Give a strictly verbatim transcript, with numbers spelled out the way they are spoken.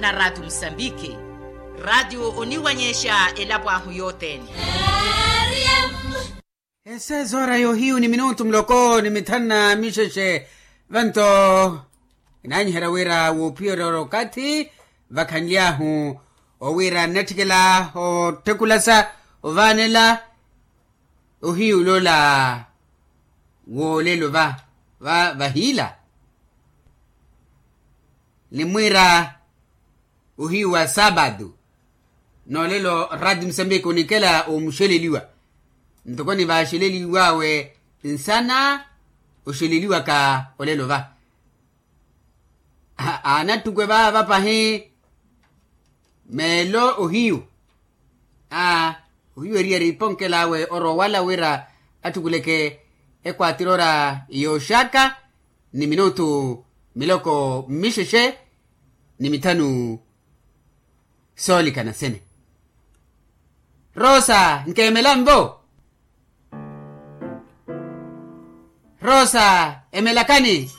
Na ratio musambiki. Ratio oniwanyexa elapo ahu yothene. Ese zora yohiyu ni minutu muloko ni mithanu na mixexe. Vanto inanyiherya wira woophiyerya ora okathi vakhanly'ahu owira nnatthikela otthukulasa ovaanela ohiyu loola woolelo va vahiila. Ni mwiira ohiyu wa saapatu noolelo ratio musambiki onikela omuxeleliwa ntoko nivaaxeleliw'awe nsana oxeleliwaka olelo va. Aanattukwe vaava pahi meelo ohiyu. Aa ohiyu eri eri iponkel'awe orowa wala wira atthukuleke ekwatirora yooxaka ni minutu miloko mmixexe ni mithanu soolikana sene. Rosa nkeemela nvo. Rosa emelakani.